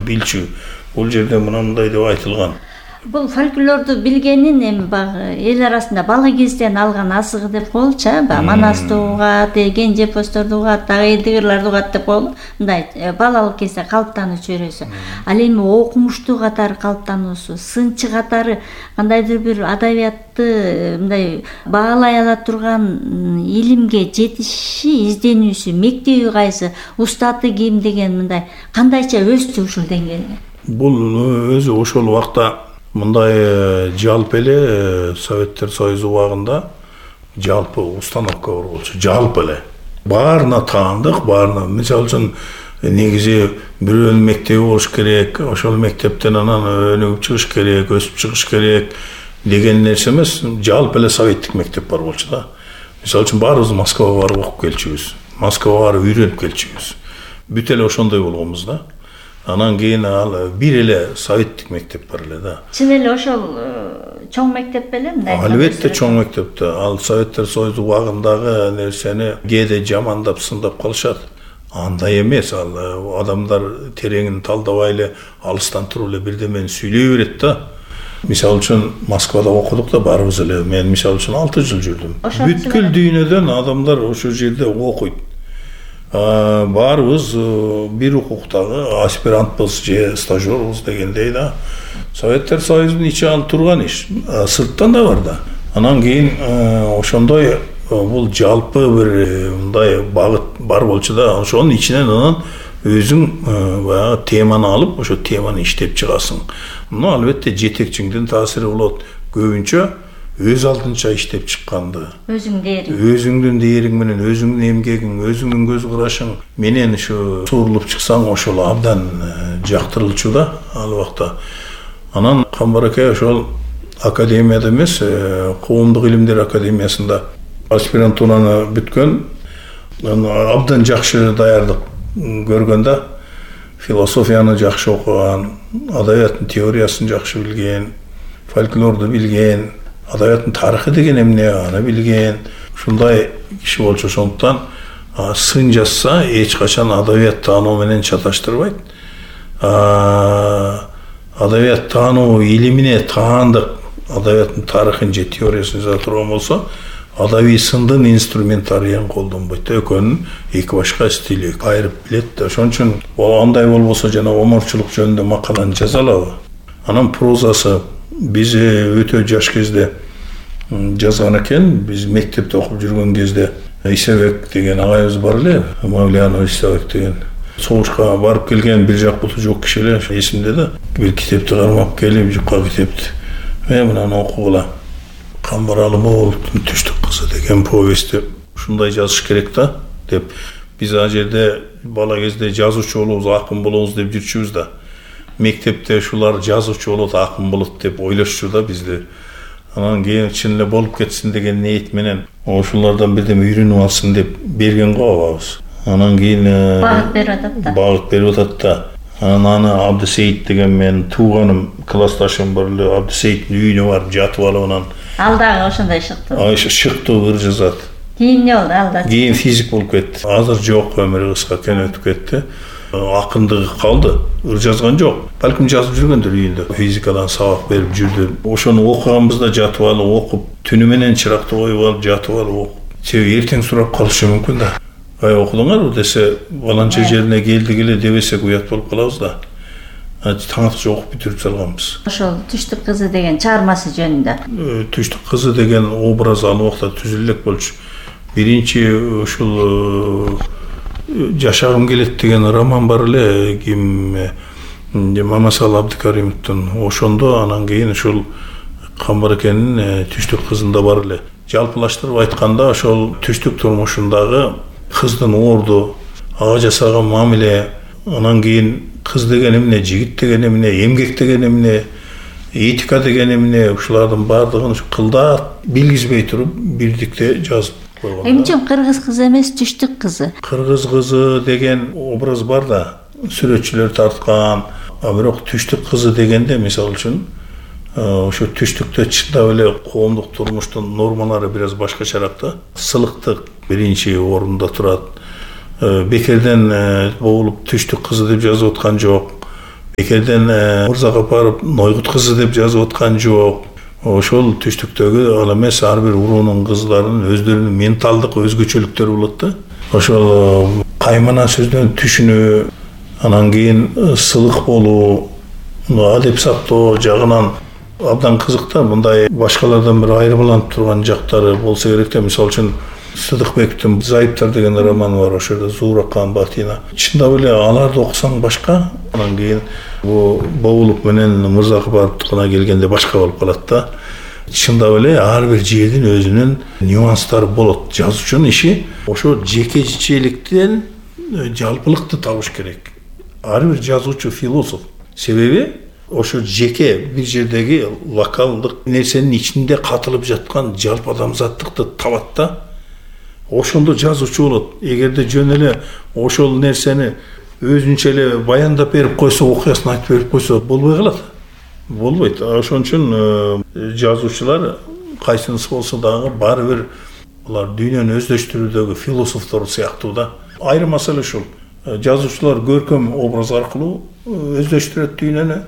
билчү. Бул жерде мындай деп айтылган. Бул фольклорду билгенин эми баягы эл арасында бала кезден алган азыгы деп коелучу, Манасты угат, Кенже Посторду угат, дагы Элдигирларды угат деп коелу. Мындай балалык кезде калыптануучу өрөсү. Ал эми окумуштуу катары калыптануусу, сынчы катары кандайдыр бир адабиятты мындай баалай ала турган илимге жетиши, изденүүсү, мектеби кайсы, устаты ким деген мындай кандайча өстү ушул деңгээлде? Бул өзү ошол убакта мындай жалпы эле Советтер Союзу убагында жалпы установка бар болчу. Жалпы эле баарына таандык, баарына мисалы үчүн негизи бирөөнүн мектеби болуш керек, ошол мектептен анан өнүгүп чыгыш керек, өсүп чыгыш керек деген нерсе эмес, жалпы эле советтик мектеп бар болчу да. Мисалы үчүн баарыбыз Москвага барып окуп келчүбүз, Москвага барып үйрөнүп келчүбүз. Бүт эле ошондой болгонбуз да. Анан кийин ал бир эле советтик мектеп бар эле да. Чын эле ошол чоң мектеп беле мындай? Албетте чоң мектепте. Ал Советтер Союзу убагындагы нерсени кээде жамандап, сындап калышат. Андай эмес, ал адамдар тереңин талдабай эле алыстан туруп эле бирдемени сүйлөй берет да. Мисалы үчүн Москвада окудук да баарыбыз эле. Мен мисалы үчүн 6 жыл жүрдүм. Бүткүл дүйнөдөн адамдар ошол жерде окуйт. Баарыбыз бир укуктагы аспирантбыз же стажербыз дегендей да. Советтер Союзунун ичи ал турган иш, сырттан да бар да. Анан кийин ошондой бул жалпы бир мындай багыт бар болчу да. Ошонун ичинен анан өзүң баягы теманы алып, ошо теманы иштеп чыгасың. Албетте жетекчиңдин таасири болот. Көбүнчө өз алдынча иштеп чыкканды. Өзүңдүн дээриң менен, өзүңдүн эмгегиң, өзүңдүн көз карашың менен ушу сурулуп чыксаң, ошол абдан жактырылчу да ал убакта. Анан Камбаракай ошол академияда эмес, коомдук илимдер академиясында аспирантураны бүткөн, абдан жакшы даярдык көргөн да. Философияны жакшы окуган, адабияттын теориясын жакшы билген, фольклорду билген, адабияттын тарыхы деген эмне аны билген, ушундай киши болчу. Ошондуктан сын жазса эч качан адабият таануу менен чаташтырбайт. Адабият таануу илимине таандык адабияттын тарыхын же теориясын жаза турган болсо, адабий сындын инструментарийин колдонбойт. Экөөнүн эки башка стили айырып билет. Ошон үчүн андай болбосо жана оморчулук жөнүндө макаланы жаза алабы. Анан прозасы биз өтө жаш кезде жазган экен. Биз мектепте окуп жүргөн кезде Исабек деген агайыбыз бар эле, Мавлиянов Исабек деген. Согушка барып келген бир жак буту жок киши эле, эсимде да. Бир китепти кармап келип, жукка китепти. Мынаны окугула. Камбаралы Моголдун Түштүк кызы деген повестти ушундай жазыш керек да деп. Биз ал жерде бала кезде жазуучу болобуз, акын болобуз деп жүрчүбүз да. Мектепте ушулар жазуучу болот, акын болот деп ойлошчу да бизди. Анан кийин чын эле болуп кетсин деген ниет менен ошолордон бирдеме үйрөнүп алсын деп берген го абабыз. Анан кийин багыт берип атат да. Багыт берип атат да. Анан аны Абдысейит деген менин тууганым, классташым бар эле, Абдысейиттин үйүнө барып жатып алып анан ал дагы ошондой шыктуу. Шыктуу ыр жазат. Кийин эмне болду ал да? Кийин физик болуп кетти. Азыр жок, өмүрү кыска экен, өтүп кетти. Акындыгы калды, ыр жазган жок. Балким жазып жүргөндүр үйүндө. Физикадан сабак берип жүрдү. Ошону окуганбызда жатып алып окуп, түнү менен чыракты коюп алып жатып алып окуп. Себеби эртең сурап калышы мүмкүн да. Окудуңарбы десе, баланча жерине келдик эле дебесек уят болуп калабыз да. Таң аткыча окуп бүтүрүп салганбыз. Ошол Түштүк кызы деген чыгармасы жөнүндө. Түштүк кызы деген образ ал убакта түзүлө элек болчу. Биринчи ушул Жашагым келет деген роман бар эле, ким Мамасал Абдыкаримовдун. Ошондо анан кийин ушул Камбаракайнын Түштүк кызында бар эле. Жалпылаштырып айтканда, ошол түштүк турмушундагы кыздын орду, ага жасаган мамиле, анан кийин кыз деген эмне, жигит деген эмне, эмгек деген эмне, этика деген эмне, ушулардын баардыгын кылдат билгизбей туруп бирдикте жазып койгон. Эмне үчүн кыргыз кызы эмес Түштүк кызы? Кыргыз кызы деген образ бар да, сүрөтчүлөр тарткан. Бирок Түштүк кызы дегенде, мисалы үчүн, ошо түштүктө чындап эле коомдук турмуштун нормалары бир аз башкачараак да. Сылыктык биринчи орунда турат. Бекерден болуп Түштүк кызы деп жазып аткан жок. бекерден Мырзакапаров Нойгут кызы деп жазып аткан жок. Ошол түштүктөгү ал эмес, ар бир уруунун кызларынын өздөрүнүн менталдык өзгөчөлүктөрү болот да. Ошол каймана сөздөн түшүнүү, анан кийин сылык болуу, адеп сактоо жагынан абдан кызык да. Мындай башкалардан бир айырмаланып турган жактары болсо керек да. Мисалы үчүн Сыдыкбектин «Зайыптар» деген романы бар, ошол Зууракан Батина. Чындап эле аларды окусаң башка, анан кийин Боулук менен Мырзакапаровдукуна келгенде башка болуп калат да. Чындап эле ар бир жердин өзүнүн нюанстары болот. Жазуучунун иши ошо жекечеликтен жалпылыкты табыш керек. Ар бир жазуучу философ. Себеби ошо жеке бир жердеги локалдык нерсенин ичинде катылып жаткан жалпы адамзаттыкты табат да. Ошондо жазуучу болот. Эгерде жөн эле ошол нерсени өзүнчө эле баяндап берип койсо, окуясын айтып берип койсо болбой калат. Болбойт. Ошон үчүн жазуучулар кайсынысы болсо дагы баары бир булар дүйнөнү өздөштүрүүдөгү философтор сыяктуу да. Айрым маселе ушул. Жазуучулар көркөм образ аркылуу өздөштүрөт дүйнөнү,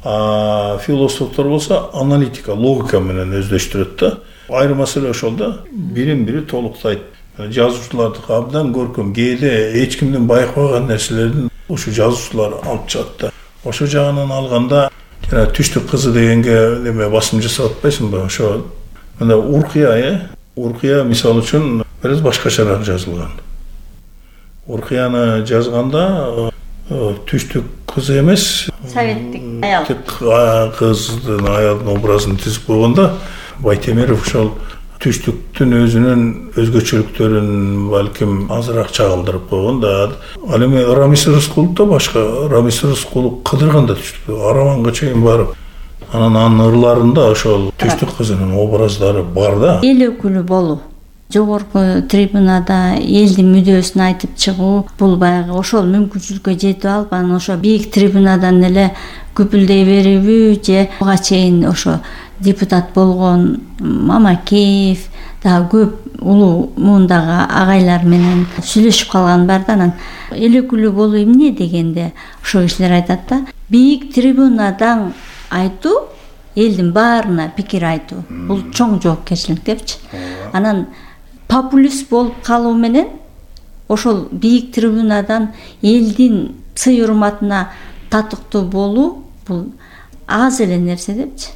а философтор болсо аналитика, логика менен өздөштүрөт да. Айрым маселе ошол да. Бирин бири толуктайт. Жазуучулардыкы абдан көркөм, кээде эч кимдин байкабаган нерселерин ушу жазуучулар алып чыгат да. Ошо жагынан алганда жана Түштүк кызы дегенге неме басым жасап атпайсыңбы? Ошо мына Уркия мисалы үчүн бир башкачараак жазылган. Уркияны жазганда Түштүк кызы эмес, советтик аял. Кыздын аялдын образын түзүп койгондо Байтемиров ошол Түштүктүн өзүнүн өзгөчөлүктөрүн балким азыраак чагылдырып койгон да. Ал эми Рамис Рыскулов да башка. Рамис Рыскулов кыдырган да Түштүктү, Араванга чейин барып. Анан анын ырларында ошол Түштүк кызынын образдары бар да. Эл өкүлү болуу, жогорку трибунада элдин мүдөөсүн айтып чыгуу, бул баягы ошол мүмкүнчүлүккө жетип алып, анан ошо бийик трибунадан эле күпүлдөй берүүбү же буга чейин ошо депутат болгон Мамакеев дагы көп улуу муундагы агайлар менен сүйлөшүп калган бар да. Анан эл өкүлү болуу эмне дегенде ошол кишилер айтат да, бийик трибунадан айтуу, элдин баарына пикир айтуу, бул чоң жоопкерчилик депчи. Анан популист болуп калуу менен ошол бийик трибунадан элдин сый урматына татыктуу болуу, бул аз эле нерсе депчи.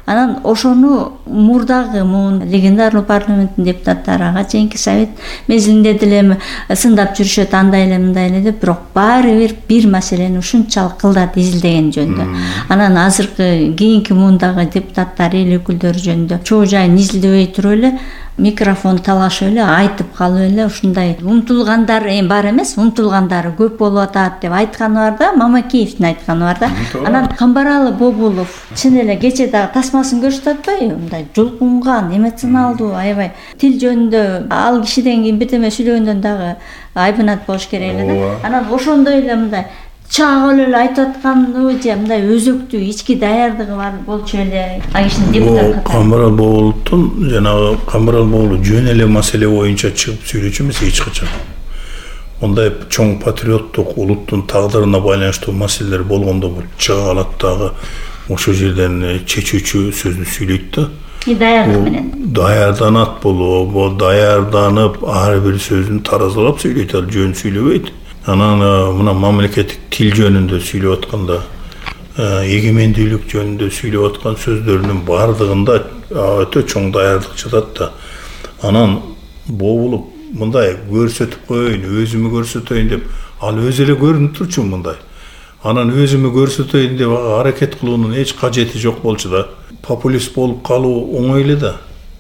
Анан ошону мурдагы легендарный парламенттин депутаттары ага чейинки совет мезгилинде деле сындап жүрүшөт, андай эле мындай эле деп, бирок баары бир маселени ушунчалык кылдат изилдеген жөнүндө. Анан азыркы кийинки муундагы депутаттар, эл өкүлдөрү жөнүндө чоо жайын изилдебей туруп эле микрофон талашып эле айтып калып эле ушундай умтулгандар бар эмес, умтулгандары көп болуп атат деп айтканы бар да, Мамакеевдин айтканы бар да. Анан Камбаралы Бобулов чын эле кече дагы тасмасын көрсөтүп атпайбы, мындай жулкунган, эмоционалдуу, аябай тил жөнүндө ал кишиден кийин бирдеме сүйлөгөндөн дагы айбанат болуш керек эле да. Анан ошондой эле мындай чагып эле айтып атканбы же мындай өзөктүү ички даярдыгы бар болчу эле ал кишинин депутат. Камбарал Боулуктун жанагы Камбарал Боулу жөн эле маселе боюнча чыгып сүйлөчү эмес эч качан. Мындай чоң патриоттук улуттун тагдырына байланыштуу маселелер болгондо бул чыга алат дагы ошол жерден чечүүчү сөздү сүйлөйт да. Даярдык менен. Даярданат болобу, даярданып ар бир сөзүн таразалап сүйлөйт, ал жөн сүйлөбөйт. Анан мына мамлекеттик тил жөнүндө сүйлөп атканда, эгемендүүлүк жөнүндө сүйлөп аткан сөздөрүнүн бардыгында өтө чоң даярдык жатат да. Анан Бобулуп мындай көрсөтүп коеюн, өзүмү көрсөтөйүн деп, ал өзү эле көрүнүп турчу мындай. Анан өзүмү көрсөтөйүн деп аракет кылуунун эч кажети жок болчу да. Популист болуп калуу оңой эле да.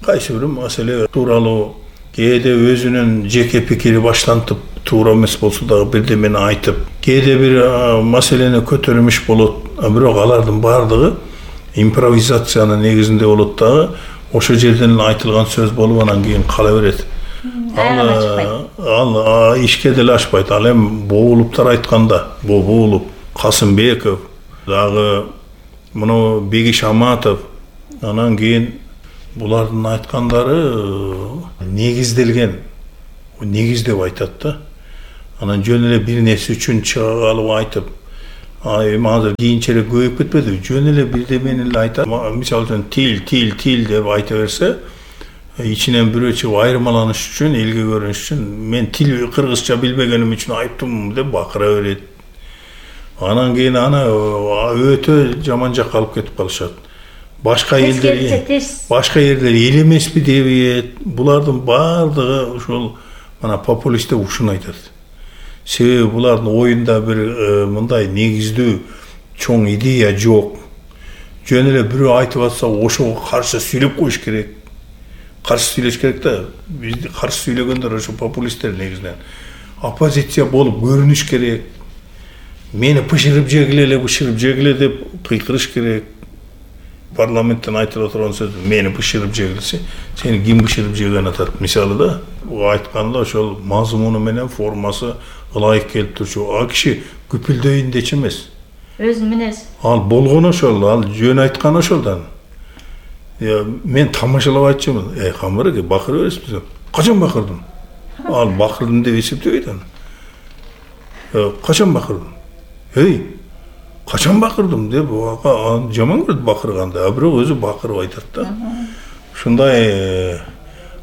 Кайсы бир маселе тууралуу кээде өзүнүн жеке пикири баштантып, туура эмес болсо дагы бирдемени айтып, кээде бир маселени көтөрүмүш болот, бирок алардын баардыгы импровизациянын негизинде болот дагы, ошол жерден айтылган сөз болуп анан кийин кала берет. Ал ишке деле ашпайт. Ал эми Боулуптар айтканда, Бобулуп, Касымбеков, дагы муну Бегиш Аматов, анан кийин булардын айткандары негизделген, негиздеп айтат да. Анан жөн эле бир нерсе үчүн чыга калып айтып, Эми азыр кийинчерээк көбөйүп кетпедиби? Жөн эле бирдемени эле айтат. Мисалы үчүн тил деп айта берсе, ичинен бирөө чыгып айырмаланыш үчүн, элге көрүнүш үчүн мен тил кыргызча билбегеним үчүн айыптымын деп бакыра берет. Анан кийин аны өтө жаман жакка алып кетип калышат. Башка элдер эл эмеспи дебейт. Булардын баардыгы ушул мана популисттер ушуну айтат. Себеби булардын оюнда бир мындай негиздүү чоң идея жок. Жөн эле бирөө айтып атса, ошого каршы сүйлөп коюш керек. Каршы сүйлөш керек да. Бизди каршы сүйлөгөндөр ошо популисттер негизинен. Оппозиция болуп көрүнүш керек. Мени бышырып жегиле деп кыйкырыш керек. Парламенттен айтыла турган сөз мени бышырып жегилсе, сени ким бышырып жеген атат. Мисалы да, айтканда ошол мазмуну менен формасы ылайык келип турчу. А киши күпүлдөйүн дечи эмес. Өз мүнөз. Ал болгон ошол, ал жөн айткан ошолдан. Мен тамашалап айтчумун. Камбар бакыра бересизби? Качан бакырдым? Ал бакырдым деп эсептебейт аны. Качан бакырдым? Качан бакырдым деп жаман көрөт бакырганды, а бирок өзү бакырып айтат да. Ушундай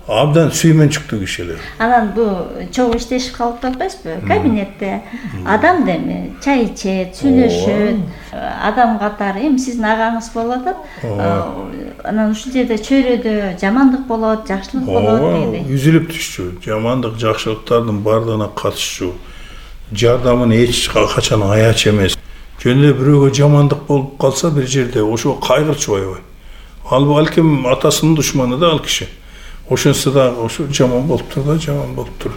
абдан сүймөнчүктүү кишилер. Анан бул чогуу иштешип калып атпайсызбы? Кабинетте адам деми чай ичет, сүйлөшөт, адам катары эми сиздин агаңыз болуп атат. Анан ушул жерде чөйрөдө жамандык болот, жакшылык болот дегендей. Үзүлүп түшчү, жамандык, жакшылыктардын баардыгына катышчу. Жардамын эч качан аяч эмес. Жөн эле бирөөгө жамандык болуп калса бир жерде ошого кайгырчубайбы? Ал балким атасынын душманы да ал киши. Ошонсо да ошо жаман болуптур да, жаман болуптур.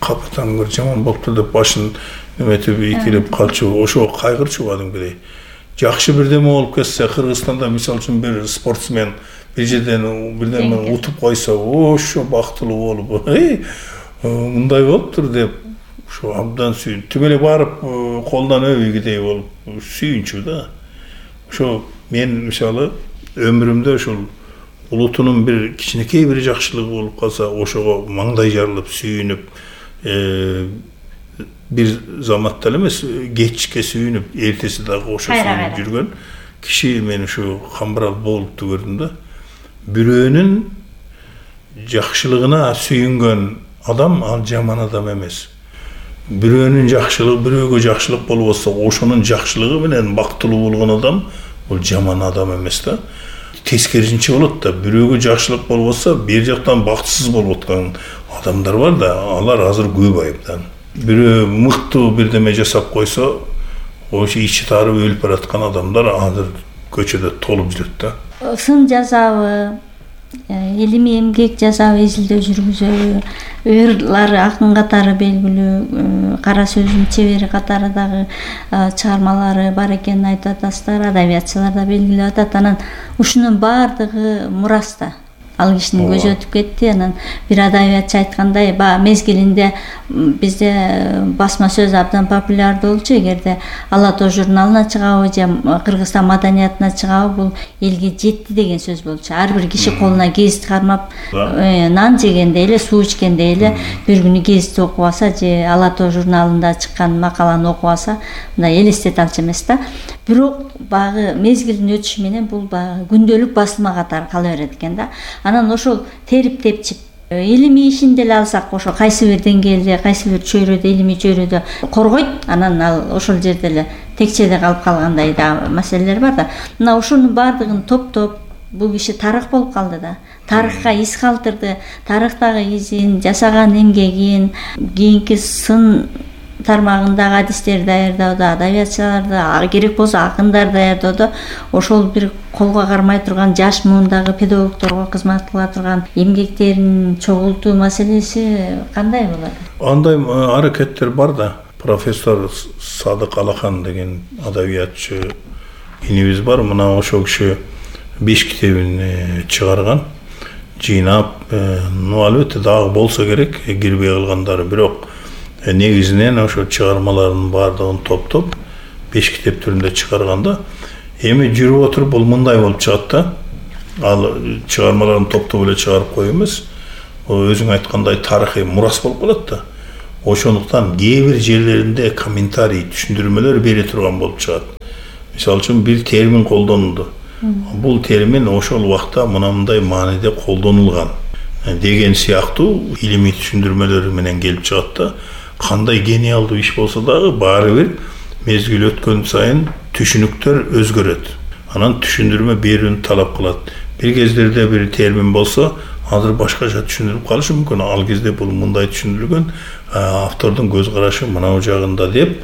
Капатан бир жаман болуптур деп башын эметип ийкилеп калчу. Ошого кайгырчу кадимкидей. Жакшы бирдеме болуп кетсе, Кыргызстанда мисалы үчүн бир спортсмен бир жерден бирдеме утуп койсо, ошо бактылуу болуп, мындай болуптур деп ошо абдан сүйүн. Түп эле барып колдон өбүйгүдей болуп сүйүнчү да. Ошо мен мисалы өмүрүмдө ошол улутунун бир кичинекей бир жакшылыгы болуп калса, ошого маңдай жарылып сүйүнүп, бир заматта эле эмес, кечке сүйүнүп, эртеси дагы ошо сүйүнүп жүргөн киши мен ушу Камбарал болупту көрдүм да. Бирөөнүн жакшылыгына сүйүнгөн адам ал жаман адам эмес. Бирөөнүн жакшылыгы, бирөөгө жакшылык болуп атса, ошонун жакшылыгы менен бактылуу болгон адам бул жаман адам эмес да. Тескерисинче болот да. Бирөөгө жакшылык болуп атса, бир жактан бактысыз болуп аткан адамдар бар да, алар азыр көп айыптан. Бирөө мыктуу бирдеме жасап койсо, ошо ичи тарып өлүп бараткан адамдар азыр көчөдө толуп жүрөт да. Сын жазабы, илимий эмгек жасабы, изилдөө жүргүзөбү, ырлары акын катары белгилүү, кара сөздүн чебери катары дагы чыгармалары бар экенин айтып атасыздар, адабиятчылар да белгилеп атат. Анан ушунун баардыгы мураста. Ал кишинин көзү өтүп кетти. Анан бир адабиятчы айткандай, мезгилинде бизде басма сөз абдан популярдуу болчу. Эгерде Ала Тоо журналына чыгабы же Кыргызстан маданиятына чыгабы, бул элге жетти деген сөз болчу. Ар бир киши колуна гезит кармап, нан жегенде эле, суу ичкенде эле бир күнү гезит окуп алса же Ала Тоо журналында чыккан макаланы окуп алса, мындай элестете алчу эмес да. Бирок багы мезгилдин өтүшү менен бул багы күндөлүк басылма катары кала берет экен да. Анан ошол терип тепчип илимий ишин деле алсак, ошо кайсы бир деңгээлде, кайсы бир чөйрөдө, илимий чөйрөдө коргойт, анан ал ошол жерде эле текчеде калып калгандай да маселелер бар да. Мына ошонун баардыгын топтоп бул киши тарых болуп калды да. Тарыхка из калтырды, тарыхтагы изин, жасаган эмгегин, кийинки сын тармагындагы адистерди даярдоодо, адабиятчыларды, керек болсо акындарды даярдоодо ошол бир колго кармай турган жаш муундагы педагогдорго кызмат кыла турган эмгектерин чогултуу маселеси кандай болот? Андай аракеттер бар да. Профессор Садык Алахан деген адабиятчы инибиз бар. Мына ошол киши 5 китебин чыгарган, жыйнап, албетте дагы болсо керек, кирбей калгандары, бирок негизинен ошо чыгармалардын баардыгын топтоп 5 китеп түрүндө чыгарганда, эми жүрүп отуруп бул мындай болуп чыгат да. Ал чыгармаларын топтоп эле чыгарып коюу эмес, өзүң айткандай тарыхый мурас болуп калат да. Ошондуктан кээ бир жерлеринде комментарий, түшүндүрмөлөр бере турган болуп чыгат. Мисалы үчүн бир термин колдонулду. Бул термин ошол убакта мындай мааниде колдонулган деген сыяктуу илимий түшүндүрмөлөр менен келип чыгат да. Кандай гениалдуу иш болсо дагы баары бир мезгил өткөн сайын түшүнүктөр өзгөрөт. Анан түшүндүрмө берүүнү талап кылат. Бир кездерде бир термин болсо, азыр башкача түшүндүрүп калышы мүмкүн. Ал кезде бул мындай түшүндүрүлгөн, автордун көз карашы мынау жагында деп,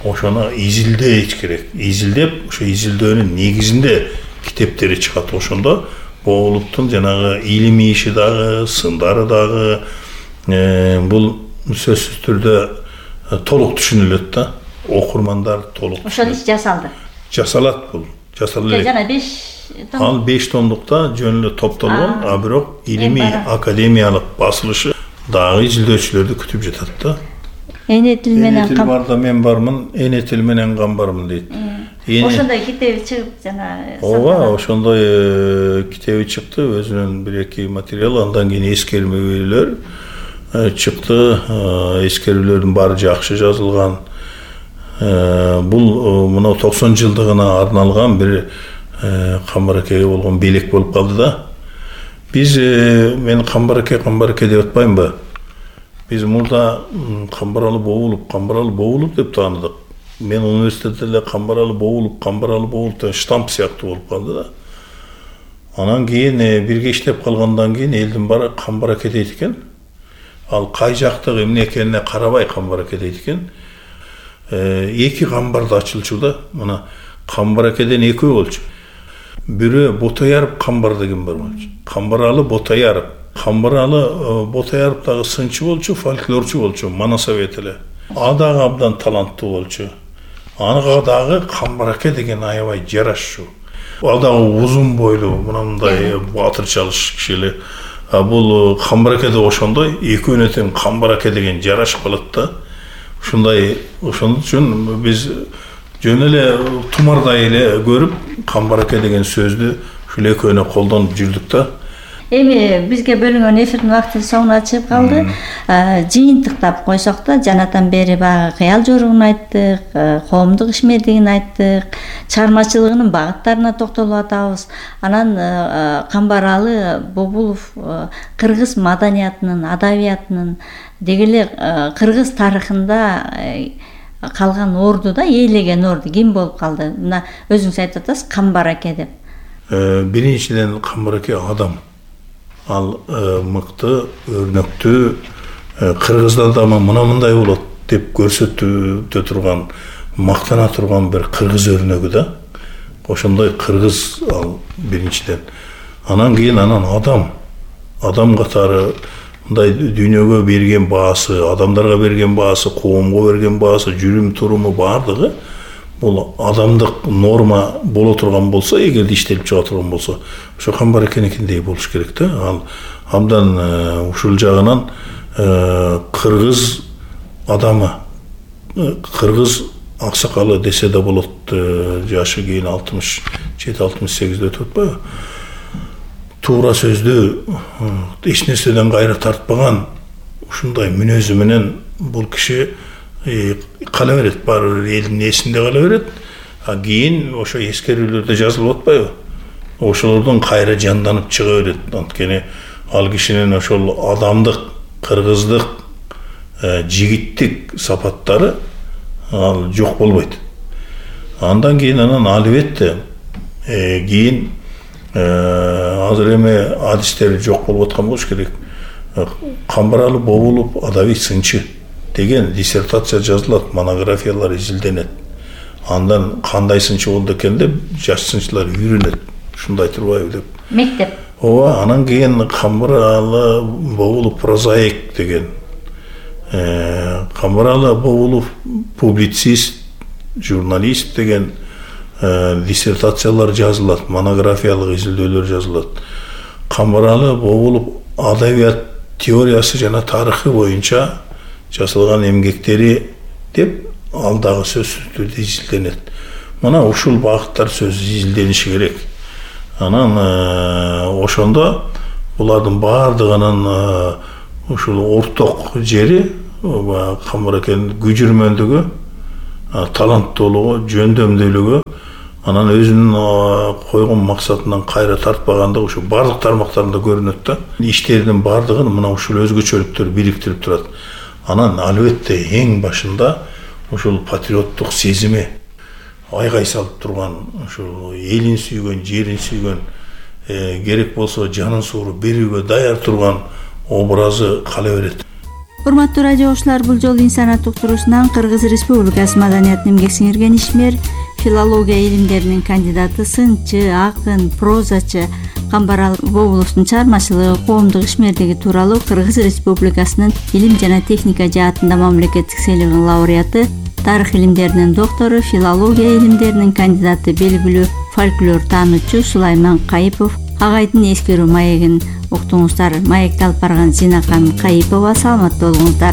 ошону изилдеш керек. Изилдеп, ошо изилдөөнүн негизинде китептери чыгат. Ошондо Боолуптун жанагы илимий иши дагы, сындары дагы бул сөзсүз түрдө толук түшүнүлөт да. Окурмандар толук. Ошол иш жасалды. Жасалат бул. Жасалды. Жана 5 том. Ал 5 томдукта жөн эле топтолгон, а бирок илимий академиялык басылышы дагы изилдөөчүлөрдү күтүп жатат да. Эне тил менен Эне тил барда мен бармын, эне тил менен кам бармын дейт. Ошондой китеби чыгып жана ооба, ошондой китеби чыкты, өзүнүн 1-2 материалы, андан кийин эскермелер чыкты. Эскерүүлөрдүн баары жакшы жазылган. Бул мына 90 жылдыгына арналган бир Камбаракеге болгон белек болуп калды да. Биз мен Камбараке деп атпаймынбы? Биз мурда Камбаралы Боолуп деп тааныдык. Мен университетте эле Камбаралы Боолуп деп штамп сыяктуу болуп калды да. Анан кийин бирге иштеп калгандан кийин элдин баары Камбараке дейт экен. Ал кай жактагы эмне экенине карабай Камбараке дейт экен. 2 камбарда ачылчу да. Мына Камбаракеден 2 болчу. Бирөө Ботояров камбар деген бар болчу. Камбаралы Ботояров. Камбаралы Ботояров дагы сынчы болчу, фольклорчу болчу, Манасовет эле. А дагы абдан таланттуу болчу. Анга дагы Камбараке деген аябай жарашчу. Ал дагы узун бойлуу, мындай батырчалыш киши эле. Бул Камбаракеде ошондой, экөөнө тең Камбараке деген жарашып калат да. Ошондой үчүн биз жөн эле тумардай эле көрүп Камбараке деген сөздү ушул экөөнө колдонуп жүрдүк да. Эми бизге бөлүнгөн эфирдин убакыты соңуна чыгып калды. Жыйынтыктап койсок да, жанатан бери баягы кыял жоругун айттык, коомдук ишмердигин айттык, чыгармачылыгынын багыттарына токтолуп атабыз. Анан Камбаралы Бобулов кыргыз маданиятынын, адабиятынын, деги эле кыргыз тарыхында калган ордуда, ээлеген орду ким болуп калды? Мына өзүңүз айтып атасыз, Камбараке деп. Биринчиден Камбараке адам. Ал мыкты, өрнөктүү, кыргыздар да мындай болот деп көрсөтүп турган, мактана турган бир кыргыз өрнөгү да. Ошондой кыргыз ал биринчиден. Анан кийин адам катары мындай дүйнөгө берген баасы, адамдарга берген баасы, коомго берген баасы, жүрүм туруму баардыгы бул адамдык норма боло турган болсо, эгерде иштелип чыга турган болсо, ошо Камбаракенекиндей болуш керек да. Ал абдан ушул жагынан кыргыз адамы, кыргыз аксакалы десе да болот. Жашы кийин 67-68 өтүп атпайбы? Туура сөздү, эч нерседен кайра тартпаган ушундай мүнөзү менен бул киши кала берет, баары элдин эсинде кала берет. Кийин ошо эскерүүлөрдө жазылып атпайбы? Ошолордон кайра жанданып чыга берет. Анткени ал кишинин ошол адамдык, кыргыздык, жигиттик сапаттары ал жок болбойт. Андан кийин албетте кийин азыр эми адистер жок болуп аткан болуш керек. Камбаралы Бобулов адабий сынчы деген диссертация жазылат, монографиялар изилденет. Андан кандай сынчы болду экен деп жаш сынчылар үйрөнөт. Ушундай турбайбы деп. Мектеп. Ооба, анан кийин Камбаралы Бобулов прозаик деген. Камбаралы Бобулов публицист, журналист деген диссертациялар жазылат, монографиялык изилдөөлөр жазылат. Камбаралы Бобулов адабият теориясы жана тарыхы боюнча жасалган эмгектери деп ал дагы сөзсүз түрдө изилденет. Мына ушул багыттар сөз изилдениши керек. Анан ошондо булардын баардыгынын ушул орток жери Камбаракенин күжүрмөндүгү, таланттуулугу, жөндөмдүүлүгү, анан өзүнүн койгон максатынан кайра тартпагандыгы ушу бардык тармактарында көрүнөт да. Иштеринин бардыгын мына ушул өзгөчөлүктөр бириктирип турат. Анан албетте эң башында ушул патриоттук сезими айгай салып турган, ушул элин сүйгөн, жерин сүйгөн, керек болсо жанын сууруп берүүгө даяр турган образы кала берет. Урматтуу радио окуучулар, бул жолу инсаният уктуруусунан Кыргыз Республикасы маданиятын эмгек сиңирген ишмер, филология илимдеринин кандидаты, сынчы, акын, прозачы Камбар Бобуловдун чыгармачылыгы, коомдук ишмердиги тууралуу Кыргыз Республикасынын илим жана техника жаатында мамлекеттик сыйлыгынын лауреаты, тарых илимдеринин доктору, филология илимдеринин кандидаты, белгилүү фольклор таануучу Сулайман Кайыпов агайдын эскерүү маегин уктуңуздар. Маекти алып барган Зинакан Кайыпова. Саламатта болуңуздар.